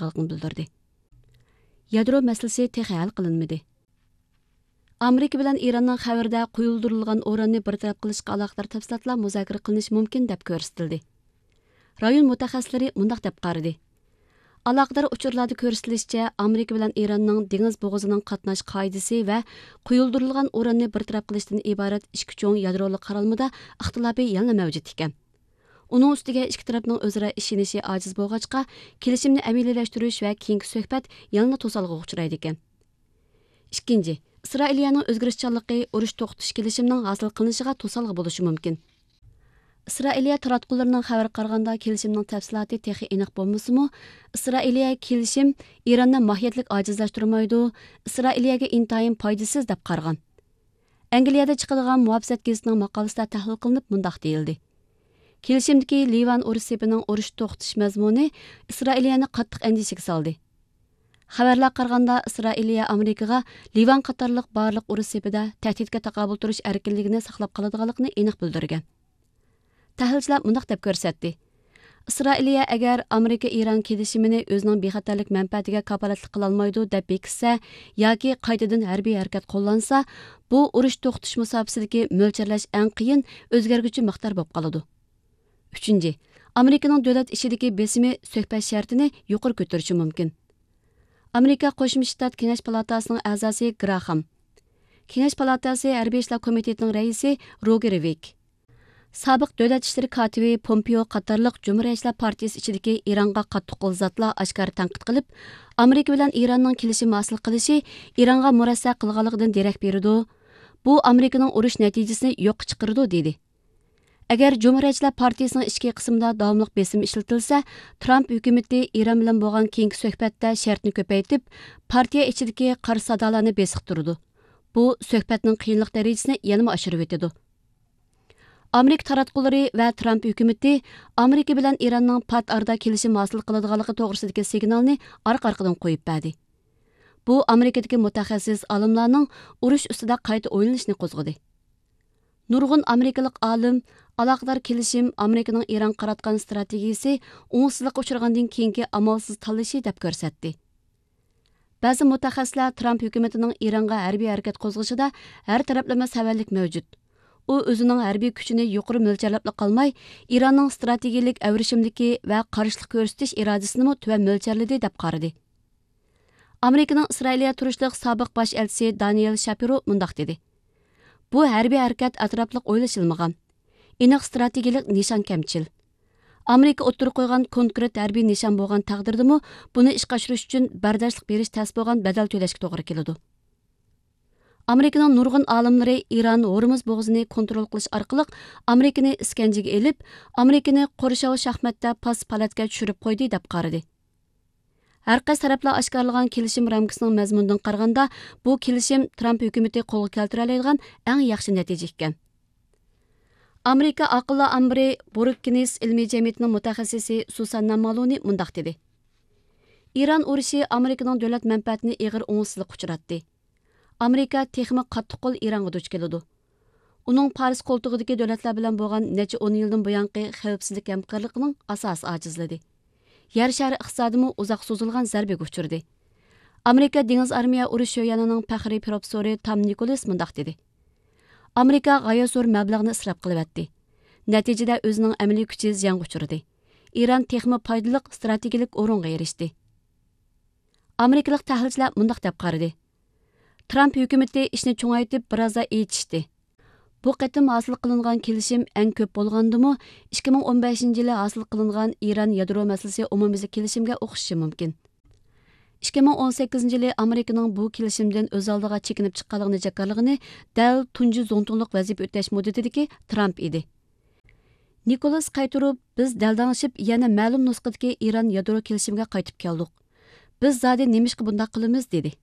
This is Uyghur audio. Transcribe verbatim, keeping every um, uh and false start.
قىلىدىغانلىقىنى بىلدۈردى. يادرو مەسىلىسى تېخى ھەل قىلىنمىدى. ئامېرىكا بىلەن ئىراننىڭ خەۋىرىدە قويۇلدۇرۇلغان ئۇراننى بىر تەرەپ قىلىشقا ئالاقىدار تەپسىلاتلار مۇزاكىرە قىلىنىشى مۇمكىن دەپ كۆرسىتىلدى. رايون مۇتەخەسسىسلىرى مۇنداق دەپ قارىدى: ئالاقىدار ئۇچۇرلاردا كۆرسىتىلىشىچە، ئامېرىكا بىلەن ئىراننىڭ دېڭىز بوغۇزىنىڭ قاتناش قائىدىسى ۋە قويۇلدۇرۇلغان ئۇراننى بىر تەرەپ قىلىشتىن ئىبارەت ئىككى چوڭ يادرولۇق قارالمىدا ئىختىلاپى يەنىلا مەۋجۇت ئىكەن. ئۇنىڭ ئۈستىگە ئىككى تەرەپنىڭ ئۆزئارا ئىشىنىشى ئاجىز بولغاچقا، كېلىشىمنى ئەمەلىيلەشتۈرۈش ۋە كېيىنكى سۆھبەت يەنىلا توسالغۇغا ئۇچرايدىكەن. ئىككىنچى، ئىسرائىلىيەنىڭ ئۆزگىرىشچانلىقى ئۇرۇش توختىتىش كېلىشىمىنىڭ ھاسىل قىلىنىشىغا توسالغۇ بولۇشى مۇمكىن. ئىسرائىلىيە تاراتقۇلىرىنىڭ خەۋىرىگە قارىغاندا، كېلىشىمنىڭ تەپسىلاتى تېخى ئېنىق بولمىسىمۇ، ئىسرائىلىيە كېلىشىم ئىراننى ماھىيەتلىك ئاجىزلاشتۇرمايدۇ، ئىسرائىلىيەگە ئىنتايىن پايدىسىز دەپ قارىغان. ئەنگلىيەدە چىقىدىغان مۇھاپىزەت گېزىتىنىڭ ماقالىسىدە تەھلىل قىلىنىپ مۇنداق دېيىلدى: كېلىشىمدىكى لىۋان ئۇرۇش سېپىنىڭ ئۇرۇش توختىتىش مەزمۇنى ئىسرائىلىيەنى قاتتىق ئەندىشىگە سالدى. خەۋەرلەرگە قارىغاندا، ئىسرائىلىيە ئامېرىكىغا لىۋان قاتارلىق بارلىق ئۇرۇش سېپىدە تەھدىتكە تاقابىل تۇرۇش ئەركىنلىكىنى ساقلاپ قالىدىغانلىقىنى ئېنىق بىلدۈرگەن. تەھلىلچىلەر مۇنداق دەپ كۆرسەتتى: ئىسرائىلىيە ئەگەر ئامېرىكا ئىران كېلىشىمىنى ئۆزىنىڭ بىخەتەرلىك مەنپەئەتىگە كاپالەتلىك قىلالمايدۇ دەپ بېكىتسە ياكى قايتىدىن ھەربىي ھەرىكەت قوللانسا، بۇ ئۇرۇش توختىتىش مۇساپىسىدىكى مۆلچەرلەش ئەڭ قىيىن، ئۆزگەرگۈچى مىقدار بولۇپ قالىدۇ. ئۈچىنچى، ئامېرىكىنىڭ دۆلەت ئىچىدىكى بېسىمى سۆھبەت شەرتىنى يۇقىرى كۆتۈرۈشى مۇمكىن. ئامېرىكا قوشما شتات كېڭەش پالاتاسىنىڭ ئەزاسى گراخام، كېڭەش پالاتاسى ھەربىي ئىشلار كومىتېتىنىڭ رەئىسى روگېر ۋىك، سابىق دۆلەت ئىشلىرى كاتىپى پومپېئو قاتارلىق جۇمھۇرىيەتچىلەر پارتىيىسى ئىچىدىكى ئىرانغا قاتتىق قول زاتلار ئاشكارا تەنقىد قىلىپ، ئامېرىكا بىلەن ئىراننىڭ كېلىشىم ھاسىل قىلىشى ئىرانغا مۇرەسسە قىلغانلىقىدىن دېرەك بېرىدۇ، بۇ ئامېرىكىنىڭ ئۇرۇش نەتىجىسىنى يوققا چىقىرىدۇ، دېدى. ئەگەر جۇمھۇرىيەتچىلەر پارتىيىسىنىڭ ئىچكى قىسمىدا داۋاملىق بېسىم ئىشلىتىلسە، ترامپ ھۆكۈمىتى ئىران بىلەن بولغان كېيىنكى سۆھبەتتە شەرتنى كۆپەيتىپ، پارتىيە ئىچىدىكى قارشى سادالارنى بېسىقتۇرىدۇ. بۇ سۆھبەتنىڭ قىيىنلىق دەرىجىسىنى يەنىمۇ ئاشۇرۇۋېتىدۇ. ئامېرىكا تاراتقۇلىرى ۋە ترامپ ھۆكۈمىتى ئامېرىكا بىلەن ئىراننىڭ پات ئارىدا كېلىشىم ھاسىل قىلىدىغانلىقى توغرىسىدىكى سىگنالنى ئارقا-ئارقىدىن قويۇپ بەردى. بۇ ئامېرىكىدىكى مۇتەخەسسىس ئالىملارنىڭ ئۇرۇش ئۈستىدە قايتا ئويلىنىشنى قوزغىدى. نۇرغۇن ئامېرىكىلىق ئالىم ئالاقىدار كېلىشىم ئامېرىكىنىڭ ئىرانغا قاراتقان ستراتېگىيىسى ئوڭۇشسىزلىققا ئۇچرىغاندىن كېيىنكى ئامالسىز تاللىشى دەپ كۆرسەتتى. بەزى مۇتەخەسسىسلەر ترامپ ھۆكۈمىتىنىڭ ئىرانغا ھەربىي ھەرىكەت قوزغىشىدا ھەر تەرەپلىمە سەۋەنلىك مەۋجۇت. ئۇ ئۆزىنىڭ ھەربىي كۈچىنى يۇقىرى مۆلچەرلەپلا قالماي، ئىراننىڭ ستراتېگىيىلىك ئەۋرىشىملىكى ۋە قارشىلىق كۆرسىتىش ئىرادىسىنىمۇ تۆۋەن مۆلچەرلىدى، دەپ قارىدى. ئامېرىكىنىڭ ئىسرائىلىيە تۇرۇشلۇق سابىق باش ئەلچىسى دانىيېل شاپىرو مۇنداق دېدى: بۇ ھەربىي ھەرىكەت ئەتراپلىق ئويلىشىلمىغان، ئېنىق ستراتېگىيىلىك نىشان كەمچىل. ئامېرىكا ئوتتۇرىغا قويغان كونكرېت ھەربىي نىشان بولغان تەقدىردىمۇ، بۇنى ئىشقا ئاشۇرۇش ئۈچۈن بەرداشلىق بېرىش تەس بولغان بەدەل تۆلەشكە توغرا كېلىدۇ. ئامېرىكىنىڭ نۇرغۇن ئالىملىرى ئىران ھورمۇز بوغۇزىنى كونترول قىلىش ئارقىلىق ئامېرىكىنى ئىسكەنجىگە ئېلىپ، ئامېرىكىنى قورشاۋ شاھماتتا پاس پالاتكە چۈشۈرۈپ قويدى، دەپ قارىدى. ھەر قايسى تەرەپلەر ئاشكارىلىغان كېلىشىم رامكىسىنىڭ مەزمۇنىدىن قارىغاندا، بۇ كېلىشىم ترامپ ھۆكۈمىتى قولغا كەلتۈرەلەيدىغان ئەڭ ياخشى نەتىجە ئىكەن. ئامېرىكا ئاقىللار ئامبىرى بروككىنس ئىلمىي جەمئىيىتىنىڭ مۇتەخەسسىسى سۇساننا مالونى مۇنداق دېدى: ئىران ئۇرۇشى ئامېرىكىنىڭ دۆلەت مەنپەئەتىنى ئېغىر ئوڭۇشسىزلىققا ئۇچراتتى. ئامېرىكا تېخىمۇ قاتتىق قول ئىرانغا دۇچ كېلىدۇ. ئۇنىڭ پارس قولتۇقىدىكى دۆلەتلەر بىلەن بولغان نەچچە ئون يىلدىن بۇيانقى خەۋپسىزلىك ھەمكارلىقىنىڭ ئاساسى ئاجىزلىدى. يەر شارى ئىقتىسادىمۇ ئۇزاق سوزۇلغان زەربىگە ئۇچرىدى. ئامېرىكا دېڭىز ئارمىيە ئۇرۇش شۆيەنىنىڭ پەخرىي پروفېسسورى تام نىكولس مۇنداق دېدى: ئامېرىكا غايەت زور مەبلەغنى ئىسراپ قىلىۋەتتى. نەتىجىدە ئۆزىنىڭ ئەمەلىي كۈچى زىيانغا ئۇچرىدى. ئىران تېخىمۇ پايدىلىق ستراتېگىيىلىك ئورۇنغا ئېرىشتى. ئامېرىكىلىق تەھلىلچىلەر مۇنداق دەپ قارىدى: ترامپ ھۆكۈمىتى ئىشنى چوڭايتىپ، بىرازلا ئېچىشتى. بۇ قېتىم ھاسىل قىلىنغان كېلىشىم ئەڭ كۆپ بولغاندىمۇ، ئىككى مىڭ ئون بەشىنچى يىلى ھاسىل قىلىنغان ئىران يادرو مەسىلىسى ئومۇميۈزلۈك كېلىشىمگە ئوخشىشى مۇمكىن. ئىككى مىڭ ئون سەككىزىنچى يىلى ئامېرىكىنىڭ بۇ كېلىشىمدىن ئۆز ئالدىغا چېكىنىپ چىققانلىقىنى جاكارلىغىنى دەل تۇنجى زۇڭتۇڭلۇق ۋەزىپە ئۆتەش مۇددىتىدىكى ترامپ ئىدى. نىكولس قايتۇرۇپ، بىز دەلدەڭشىپ، يەنە مەلۇم نۇسخىدىكى ئىران يادرو كېلىشىمىگە قايتىپ كەلدۇق. بىز زادى نېمىشقا بۇنداق قىلىمىز؟ دېدى.